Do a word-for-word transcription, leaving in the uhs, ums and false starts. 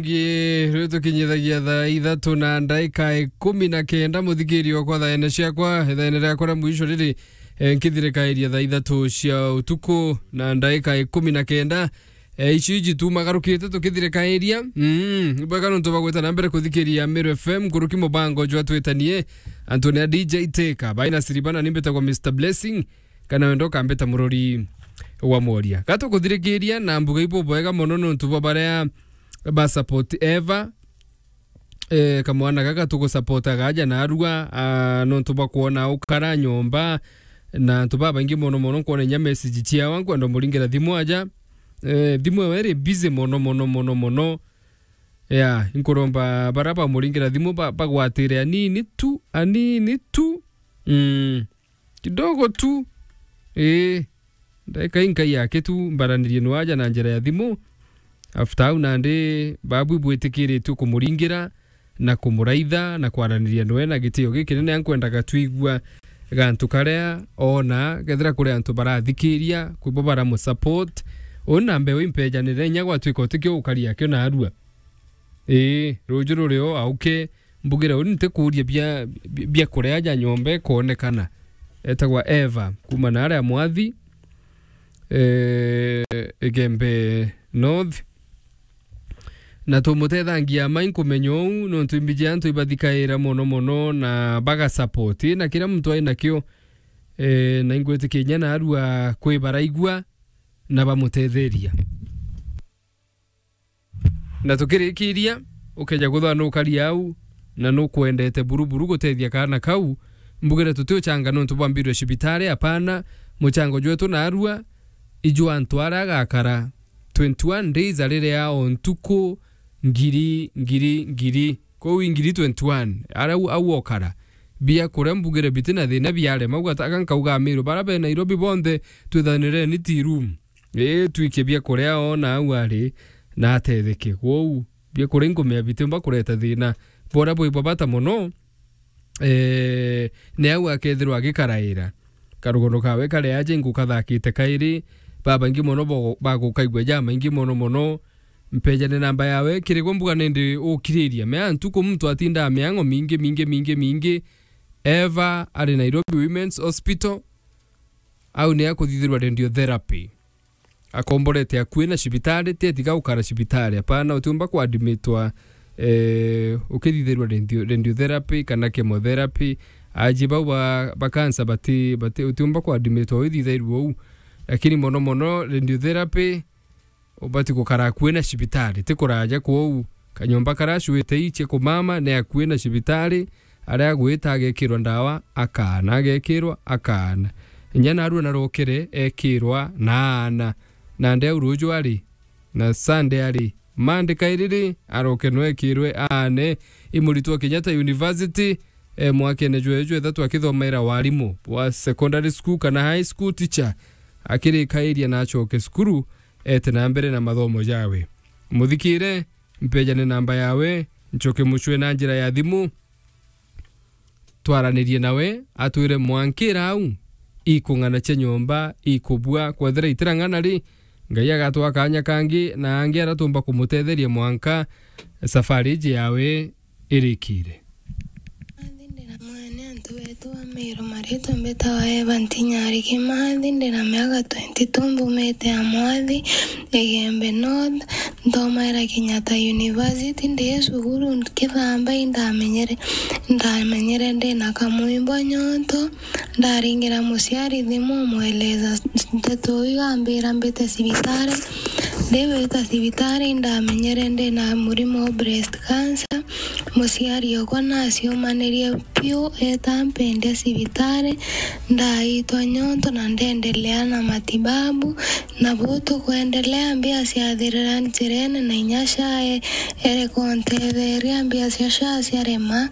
Ngi, riu tukinyithagia thaa ithatu na ndaika ikumi na kenda, muthikiri okwa thaene ciakwa, thaene riakwa ria mwisho riri, eh, nkithirikairia thaa ithatu cia utuku na ndaika ikumi na kenda. Eh, ici iji tumagarukite tukithirikairia. Mm, bwega nontu bwa gwita na mbere kuthikiria Meru F M, nkuruki mubango jwa twitanie. Antonia D J Teka, baina Siribana nimbitagwa Mister Blessing, kana wenda ukambita murori wa mworia. Gatukuthirikiria na mbuga ibubwega mono nontu bwa baria ba support Eva. Eh, kamwana gaka tugusupport gaja narua, ah, nontu bwa kwona ukara nyomba, na antu babaingi mono mono nkwona inya message ciawa, nkwenda umuringira thimu aja. Eh, thimu ewe iri busy mono mono mono mono. Ya, inkuromba bara bamuringira thimu ba-, bagwatire anini tu, anini tu. Mm. Kidogo tu. Ii. Ndaika inkai yake tu, mbaranirie nwaja na njira ya thimu. After au nandi babu ibwitikiritue kumuringira na kumuraitha na kwaraniria nwe na gitio gikinene. Ankwendaga twigua gantu karia ona kethira kuri antu barathikiria, kwibo baramusupport. Uu na mbeu impejanire inya gwatwika utikio ukari akio narua. Ii, ruju rurio auke, mbugire uni ntikuuria bia, bia, bia kuria ja nyomba ikonekana. Etagwa Eva, kuma na aria Mwathi, eh, Igembe North. Na tumutethangia mai nkumenya uu, nontu imbiji antu ibathikaira mono mono na bagasupport. Na kiria muntu ai nakio, eh, na ingwitikia inya narua kwi baraigua na bamutetheria. Na tukirikiria, ukeja kwithwa nukari au, na nukwendete buru buru gutethia kaana kau, mbugire tutiuchanga nontu bwa mbiru ya cibitari, apana, muchango jwetu narua, ijwa antu aria agakara twenty-one days ariria o ntuku ngiri, ngiri, ngiri. Kou i ngiri twenty-one, aria au, au okara. Bia kuria mbugire biti na thina biarema, ugataga nkauga Amiru, bara be Nairobi bonthe, twithanireni tea room. Ii, twikie bia kuria ona au ari na atetheke. Kwou, bia kuria inkumea bitiumba kureta thina. Boria bwi bwa bata mono, eh, ni au akethirwa agikaraira. Karugono kawe kari aja ingukathakite kairi, babaingi mono bo-, bagukaigua jamaingi mono mono. Mpejane namba yawe, kirigwa mbuga nindi ukiriria. Mea ntuku muntu atindaa miango mingi, mingi, mingi, mingi. Eva ari Nairobi Women's Hospital. Au ni akuthithirwa radiotherapy. Akomborete akui na cibitari, ti atiga gukara cibitari. Apana, utiumba kuadmitwa, eh, ukithithirwa radio-, radiotherapy kana chemotherapy. Aji bau ba, ba cancer bati, bati, utiumba kuadmitwa withithairwe uu. Lakini mono mono radiotherapy, ubati gukara akui na cibitari, ti kuraja kwou. Kanyomba karia acuite ichie kumama ni akui na cibitari, aria agwita agekirwa ndawa, akaana, agekirwa, akaana. Inya narua narokere, ekirwa, na aana. Nandi au ruju ari, na Sunday ari, Monday kairiri, aroke no ekirwe, aane. I muritwa Kenyatta University, e, mwakene jwe jwethatu akithomaira warimu wa secondary school kana high school teacher, akirikairia na acoke cukuru, ete na mbere na mathomo jawe. Muthikire, mpejane namba yawe, ncoke mucwe na njira ya thimu, twaranirie nawe, atwire mwankira au, ikung'ana cia nyomba, ikubua, kwethira itirang'ana ri, Ngai agatwa kanya kangi, na angi aria tumba kumutetheria mwanka safari iji yawe irikire. Mathi ndi na mwene antu betu ba Miru, maritwa mbitawa Eva Ntinyari Kimathi, ndi na miaka twenty-two, mbumite Amwathi, Igembe North, nthomaira Kenyatta University, ndi cukuru nkithamba, indamenyere, ndamenyere ndi na kamwimbo nyonto, ndaringira muciari thimu, mweleza ndeto iu, ambira mbite cibitari, ndiwita cibitari, indamenyere ndi na murimo wa breast cancer. Muciari okwa naciumanirie piu, eta mpendia cibitari, ndaitwa nyonto na ndendelea na matibabu, na buu tukwendelea, mbia ciathirira njirene, na inya SHA e-, ere kuntetheria, mbia cia SHA ciarema,